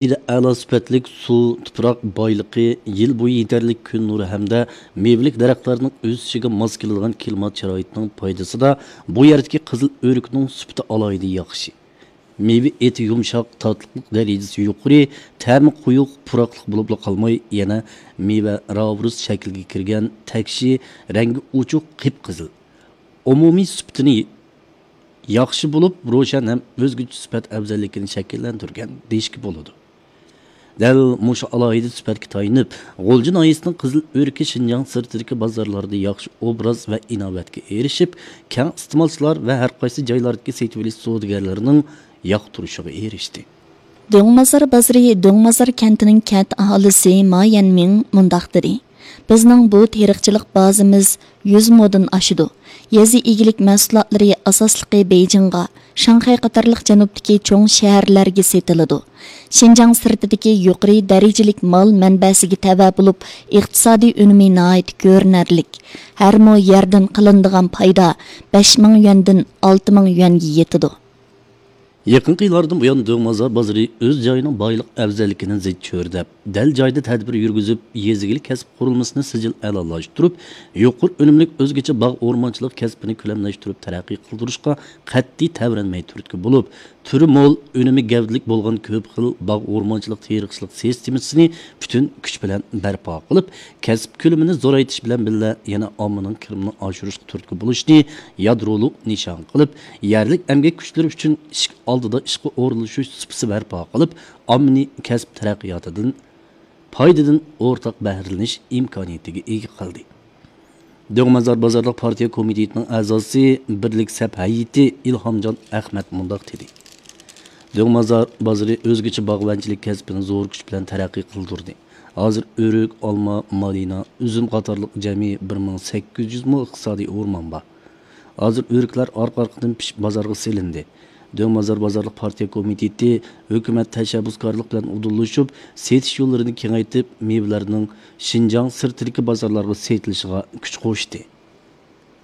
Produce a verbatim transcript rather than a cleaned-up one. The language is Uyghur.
ئەلا سۈپەتلىك سۇ، تۇپراق بايلىقى، يىل بويى يېتەرلىك كۈن نۇرى ھەمدە مېۋىلىك دەرەخلەرنىڭ ئۆسۈشىگە ماس كېلىدىغان كىلىمات شارائىتىنىڭ پايدىسىدا بۇ يەردىكى قىزىل ئۆرۈكنىڭ سۈپىتى ئالاھىدە ياخشى. مېۋە ئېتى يۇمشاق، تاتلىقلىق دەرىجىسى يۇقىرى، تەمى قويۇق، پۇراقلىق بولۇپلا قالماي، يەنە مېۋە راۋرۇس شەكلىگە كىرگەن، تەكشى، رەڭگى ئوچۇق، قىپقىزىل. ئومۇمىي سۈپىتىنى ياخشى بولۇپ، روشەن ھەم ئۆزگىچە سۈپەت ئەۋزەللىكىنى شەكىللەندۈرگەن دېيىشكە بولىدۇ. دەل مۇشۇ ئالاھىدە سۈپەتكە تايىنىپ، غۇلجا ناھىيەسىنىڭ قىزىل ئۆرۈكى شىنجاڭ سىرتىدىكى بازارلاردا ياخشى ئوبراز ۋە ئىناۋەتكە ئېرىشىپ، كەڭ ئىستېمالچىلار ۋە ھەر قايسى جايلاردىكى سېتىۋېلىش سودىگەرلىرىنىڭ ياقتۇرۇشىغا ئېرىشتى. دۆڭمازار بازىرى، دۆڭمازار كەنتىنىڭ كەنت ئاھالىسى ما يەنمىڭ مۇنداق دېدى: بىزنىڭ بۇ تېرىقچىلىق بازىمىز يۈز مودىن ئاشىدۇ. يېزا ئىگىلىك مەھسۇلاتلىرى ئاساسلىقى بېيجىڭغا، شاڭخەي قاتارلىق جەنۇبتىكى چوڭ شەھەرلەرگە سېتىلىدۇ. شىنجاڭ سىرتىدىكى يۇقىرى دەرىجىلىك مال مەنبەسىگە تەۋە بولۇپ، ئىقتىسادىي ئۈنۈمى ناھايىتى كۆرۈنەرلىك. ھەر مو يەردىن قىلىنىدىغان پايدا بەش مىڭ يۈەندىن ئالتە مىڭ يۈەنگە يېتىدۇ. يېقىنقى يىللاردىن بۇيان، دۆڭمازار بازىرى ئۆز جايىنىڭ بايلىق ئەۋزەللىكىنى زىچ چۆرىدەپ، دەل جايىدا تەدبىر يۈرگۈزۈپ، يېزا ئىگىلىك كەسىپ قۇرۇلمىسىنى سىجىل ئەلالاشتۇرۇپ، يۇقىرى ئۈنۈملۈك ئۆزگىچە باغ ئورمانچىلىق كەسپىنى كۆلەملەشتۈرۈپ تەرەققىي قىلدۇرۇشقا قەتئىي تەۋرەنمەي تۈرتكە بولۇپ، تۈرى مول، ئۈنۈمى گەۋدىلىك بولغان كۆپ خىل باغ ئورمانچىلىق تېرىقچىلىق سىستېمىسىنى پۈتۈن كۈچ بىلەن بەرپا قىلىپ، كەسىپ كۆلىمىنى زورايتىش بىلەن بىللە، يەنە ئاممىنىڭ كىرىمىنى ئاشۇرۇشقا تۈرتكە بولۇشنى يادرولۇق نىشان قىلىپ، يەرلىك ئەمگەك كۈچلىرى ئۈچۈن ئىشىك ئالدىدا ئىشقا ئورۇنلىشىش سۇپىسى بەرپا قىلىپ، ئاممىنى كەسىپ تەرەققىياتىدىن، پايدىدىن ئورتاق بەھرىلىنىش ئىمكانىيىتىگە ئىگە قىلدى. دۆڭمازار بازارلىق پارتىيە كومىتېتىنىڭ ئەزاسى، بىرلىك سەپ ھەيئىتى ئىلھامجان ئەخمەت مۇنداق دېدى: دۆڭمازار بازىرى ئۆزگىچە باغۋەنچىلىك كەسپىنى زور كۈچ بىلەن تەرەققىي قىلدۇردى. ھازىر ئۆرۈك، ئالما، مالىنا، ئۈزۈم قاتارلىق جەمئىي بىر مىڭ سەككىز يۈز مو ئىقتىسادىي ئورمان بار. ھازىر ئۆرۈكلەر ئارقا-ئارقىدىن پىشىپ بازارغا سېلىندى. دۆڭمازار بازارلىق پارتىيە كومىتېتى ھۆكۈمەت تەشەببۇسكارلىق بىلەن ئۇدۇللىشىپ، سېتىش يوللىرىنى كېڭەيتىپ، مېۋىلەرنىڭ شىنجاڭ سىرتىدىكى بازارلارغا سېتىلىشىغا كۈچ قوشتى.